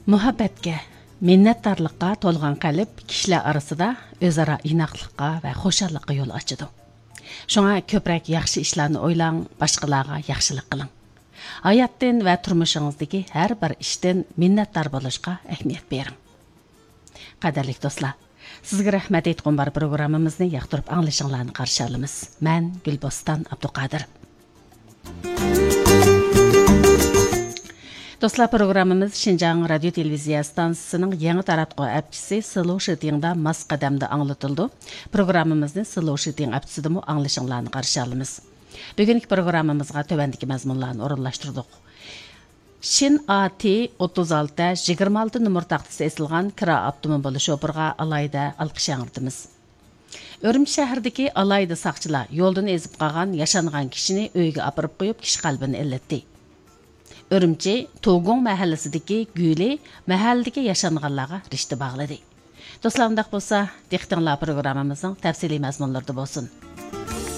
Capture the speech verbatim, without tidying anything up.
مۇھەببەتكە، مىننەتدارلىققا تولغان قەلب كىشىلەر ئارىسىدا ئۆزئارا ئىناقلىققا ۋە خۇشاللىققا يول ئاچىدۇ. شۇڭا كۆپرەك ياخشى ئىشلارنى ئويلاڭ، باشقىلارغا ياخشىلىق قىلىڭ. ھاياتتىن ۋە تۇرمۇشىڭىزدىكى ھەر بىر ئىشتىن مىننەتدار بولۇشقا ئەھمىيەت بېرىڭ. قەدىرلىك دوستلار، سىزگە رەھمەت ئېيتقۇم بار پروگراممىمىزنى ياقتۇرۇپ ئاڭلىشىڭلارنى قارشى ئالىمىز. مەن گۈلبوستان ئابدۇقادىر. دوستلار، پروگراممىمىز شىنجاڭ رادىيو تېلېۋىزىيە ئىستانسىسىنىڭ يېڭى تاراتقۇ ئەپچىسى سلو شىتىڭدا ماس قەدەمدە ئاڭلىتىلىدۇ. پروگراممىمىزنى سلو شىتىڭ ئەپچىسىدىمۇ ئاڭلىشىڭلارنى قارشى ئالىمىز. بۈگۈنكى پروگراممىمىزغا تۆۋەندىكى مەزمۇنلارنى ئورۇنلاشتۇردۇق. شىن ئا تى ئوتتۇز ئالتە يىگىرمە ئالتە نومۇر تاختىسى ئېسىلغان كىرا ئاپتوموبىلى شوپۇرىغا ئالاھىدە ئالقىش ياڭرىتىمىز. ئۈرۈمچى شەھىرىدىكى ئالاھىدە ساقچىلار يولدىن ئېزىپ قالغان ياشانغان كىشىنى ئۆيىگە ئاپىرىپ قويۇپ، كىشى قەلبىنى ئىللىتتى. ئۈرۈمچى توگۇڭ مەھەللىسىدىكى گۈلى مەھەللىدىكى ياشانغانلارغا رىشتە باغلىدى. دوستلار، ئۇنداق بولسا، دىققىتىڭلار پروگراممىمىزنىڭ تەپسىلىي مەزمۇنلىرىدا بولسۇن.